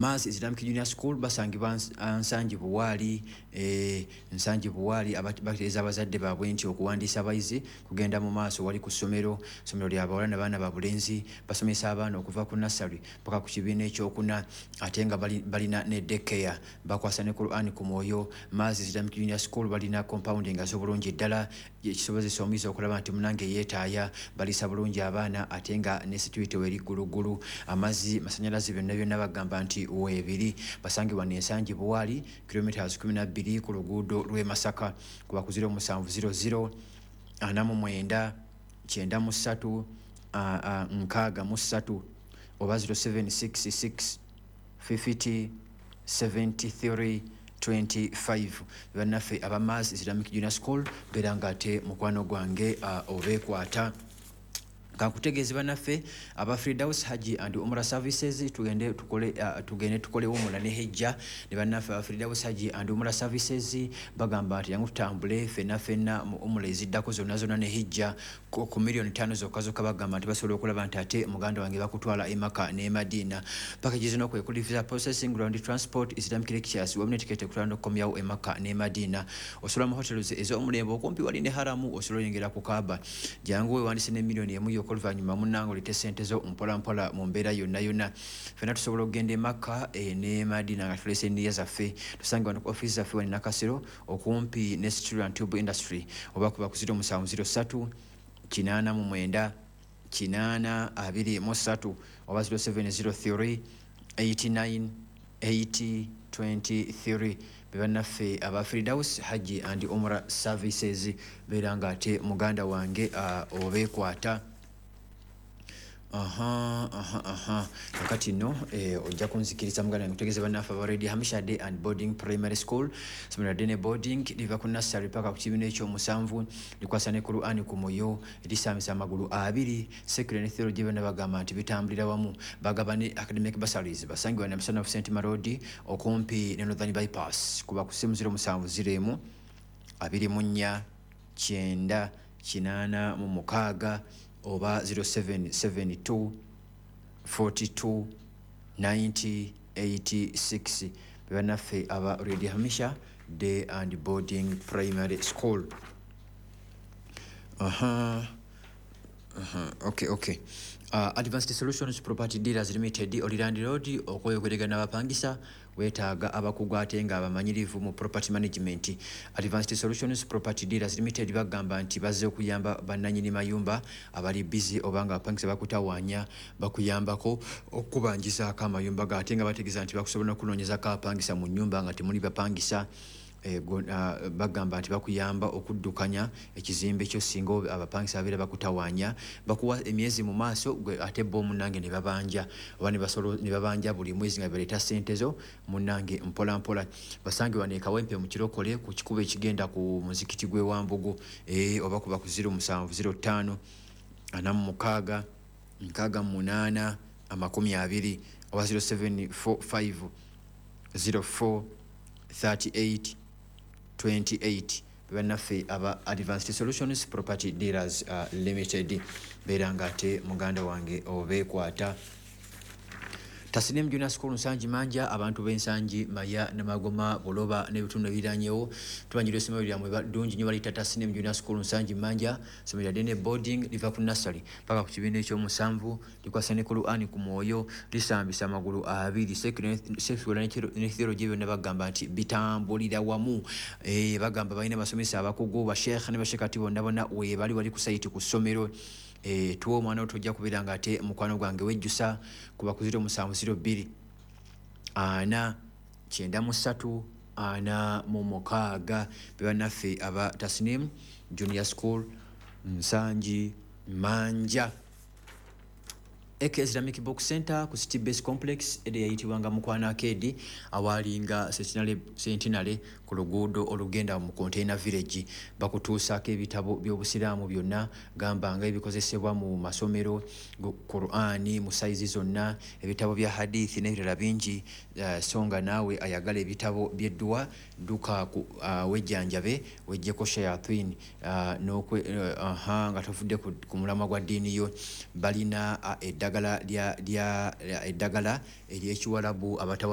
Mars Islamic Junior School basangibwa Nsangi Buwaali, Nsangi Buwaali. Bategeeza abazadde baabwe nti okuwandiisa abayizi kugenda mu maaso. Wali ku ssomero, ssomero lya bawala nabaana ba bulenzi. Basomesa abaana okuva ku nursery paka ku kibiina ekyokuna, ate nga balina ne daycare. Bakwasa ne Quran ku mwoyo. Mars Islamic Junior School balina compound nga z'obulungi ddala, ekisobozesa omuyizi okulaba nti munange yeetaaya. Baliisa bulungi abaana, ate nga ne security weri gguluggulu. Amazzi, masanyalaze, byonna byonna bagamba nti weebiri. Basangibwa n'Ensangi Buwaali, kilometers 12 ku luguudo lw'e Masaka. Kuba ku 0700 49 93 63 oba 0766 50 73 25. Bannaffe aba Mars Islamic Junior School, beera nga ate mukwano gwange obeekwata. Kankutegeeze bannaffe aba Fridaus Haji and Umra Services, tugende tukole, tugende tukole umura ne hijja ne bannaffe aba Fridaus Haji and Umra Services. Bagamba nti yangu tutambule fenna fenna mu umura eziddako zonna zonna ne hijja ku 5 miliyoni zokka zokka. Bagamba nti basobola okulaba nti ate muganda wange bakutwala e Maka ne Madina. Package zino kwe kuli visa processing, ground transport, Islamic lectures, wamu ne tiketi ekutwala n'okukomyawo e Maka ne Madina. Osobola mu hotels ez'omulembe okumpi wali ne haramu, osobola oyingira ku Kaaba. Jangu weewandise ne 1 miliyoni yokka, oluvannyuma munnange olete sente zo mpola mpola. Mu mbeera yonna yonna ffenna tusobola okugenda e Makka ne Madina nga tulese eniya zaffe. Tusange wano ku ofiisi zaffe wano Nakasero, okumpi ne Steel and Tube Industry, oba kuba ku 0703 89 80 23 oba 0703 89 80 23. Bebannaffe aba Fridaus Haji and Umra Services. Beera nga ate muganda wange obeekwata. Aha, kakati nno ojja kunzikiriza muganda wange kutegeeza bannaffe aba Radio Hamisha Day and Boarding Primary School. Somero day ne boarding, liva ku nursery paka ku kibiina ekyomusanvu. Likwasa ne Quran ku mwoyo, lisambisa amagulu abiri. Secular ne theology byonna bagamba nti bitambulira wamu. Bagaba ne academic bursaries. Basangibwa Namusanafu St Marodi, okumpi ne Northern Bypass. Kuba ku simu 0701 24 90 86 oba 0772 42 90 86. Bebannaffe aba Radio Hamisha Day and Boarding Primary School. Aha, okay. Advanced Solutions Property Dealers Limited, oli landlord okweyogerega n'abapangisa, weetaaga abakugu ate nga abamanyirivu mu property management. Advanced Solutions Property Dealers Limited bagamba nti bazze okuyamba bannanyini mayumba abali busy oba nga abapangisa bakutawaanya. Bakuyambako okubanjizaako amayumba ga, ate nga bategeeza nti bakusobola n'okunoonyezako abapangisa mu nnyumba nga temuli bapangisa. Bagamba nti bakuyamba okuddukanya ekizimbe kyo singa abapangisa babeera bakutawaanya. Bakuwa emyezi mu maaso gwe ate bo munnange ne babanja oba ne babanja buli mwezi nga baleeta ssente zo munnange mpola mpola. Basange wano e Kawempe mu Kirokole, ku kikubo ekigenda ku muzikiti gw'e Wambugu, oba kuba ku 0705 46 68 20 oba 0745 04 38 28. Bannaffe aba Advanced Solutions Property Dealers Limited, beera nga ate muganda wange obeekwata. Tasnim Junior School Nsangi Manja, abantu b'Ensangi, Maya, Namagoma, Buloba n'ebitundu ebiriranyewo, tubanjira essomero lyammwe ddungi nnyo, baliyita Tasnim Junior School Nsangi Manja. Ssomero lya day ne boarding, liva ku nursery paka ku kibiina ekyomusanvu. Likwasa ne Quran ku mwoyo, lisambisa amagulu abiri. Secular ne theology byonna bagamba nti bitambulira wamu. Bagamba balina abasomesa abakugu, basheekh ne bashekati bonna bonna weebali wali ku site ku ssomero. Tuwa omwana wo, tojja kubeera nga ate mukwano gwange wejjusa. Kuba ku 0702 4 93 46. Bebannaffe aba Tasnim Junior School Nsangi Manja. AK Islamic Book Center ku City Base Complex, ede yayitibwanga Mukwano Arcade, awalinga Centenary ku luguudo olugenda mu Container Village. Bakutuusaako ebitabo by'obusiraamu byonna, gamba nga ebikozesebwa mu masomero, Qur'ani mu sayizi zonna, ebitabo bya hadithi n'ebirala bingi. So nga naawe ayagala ebitabo by'edduwa, dduka wejjanjabe, wejjeko shayatin nga tovudde ku mulamwa gwa ddiini yo. Balina Eddagala lya eddagala ery'ekiwalabu abatawaanya.